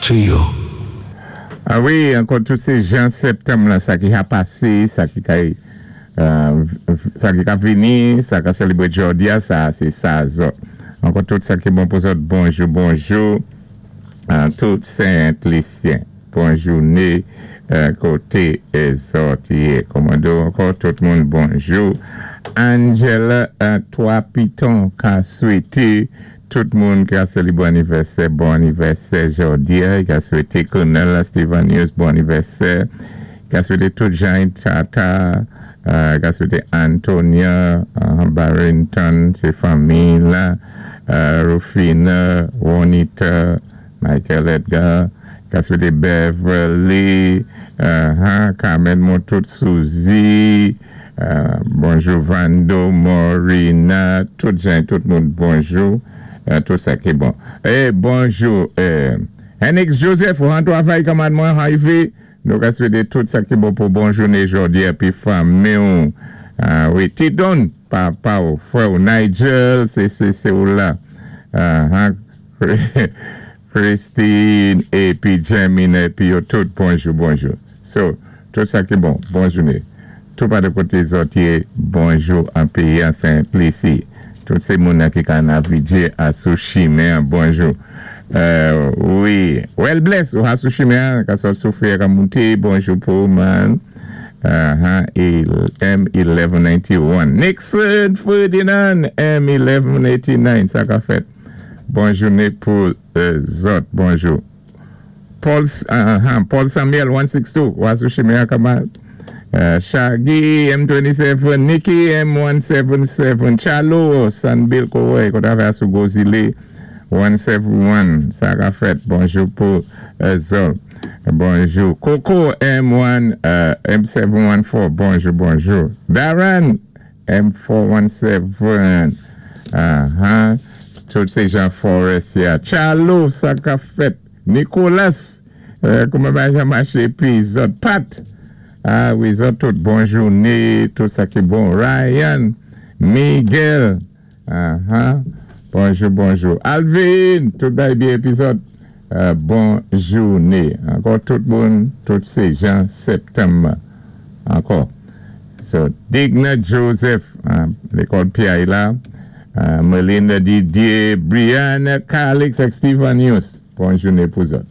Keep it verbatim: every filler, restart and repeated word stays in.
To you. A wi, ankò tout sé jan septanm la, sa ki ka pasé, sa ki ka, euh, sa ki ka vini, sa ka sélébwé jòdi a, sa sé sa zòt. Ankò tout sa ki bon pou zòt, bonjou, bonjou, euh, tout Sent Lisyen. Bon jouné, euh, koté zòt yé. Kòmando, ankò tout moun bonjou. Angela, euh, Twa Piton, ka swété tout moun ki a sélébwé anivèsè, bon anivèsè jòdi a, ki a swété Colonel Steven Hughes bon anivèsè, ki a swété tout Jean Tata, euh, ki a swété Antonia, euh, Barrington, sé fanmi la, euh, Rufina, Juanita, Michael Edgar, ki a swété Beverly, euh, hein, Carmen Montout, Suzy, euh, bonjou Vando, Morina, tout jan, tout moun, bonjou. Euh, tout sa ki bon. Eh, bonjou. Eh, Henix Joseph, ou an twavay kanmad mwen, arivé. Nou ka swété tout sa ki bon pou bon jouné jòdi a, pi fanmi ou. Ah, wi, Tidon, papa ou, frè ou, Nigel, sé, sé, sé ou la. Ah, hein, Christine, épi Jamine, épi yo tout, bonjou, bonjou. So, tout sa ki bon, bon jouné. Tout pa de koté zòt yé, bonjou an péyi an Sent Lisi. Tout sé moun ki ka navigé a sou chimen, bonjou. Euh, wi, well bless, ou a sou chimen, ka sot sou fè ka monté, bonjou pou man. Uh-huh, M mil noncentan nannti-en. Nixon Ferdinand, M mil sensan eighty-nine, sa ka fèt. Bon jouné pou euh, zòt, bonjou. Paul, uh, Paul Samuel, sensan senkanndu, ou a sou chimen kanmad. Uh, Shaggy M twenty-seven, Nikki M one seventy-seven, Chalo, San Bill Kowe, koté avè sou Gozile one seventy-one, sa ka fèt, bonjou pou euh, zòt. Bonjou. Coco M one, euh, M seven one four, bonjou, bonjou. Darren M four one seven, uh-huh. Tout sé jan Forest ya. Chalo, sa ka fèt. Nicolas, euh, kouman bagay maché pi zòt. Pat, ah wi, zòt tout bon jouné, tout sa ki bon. Ryan, Miguel, ah ah, bonjou, bonjou. Alvin, tout bagay byen épi zòt. Euh, bon jouné. Ankò tout moun, tout sé jan septanm. Ankò. So, Digna Joseph, hein, lékòl P I la, euh, Melinda Didier, Brianna, Calix ak Steven Hughes. Bon jouné pou zòt.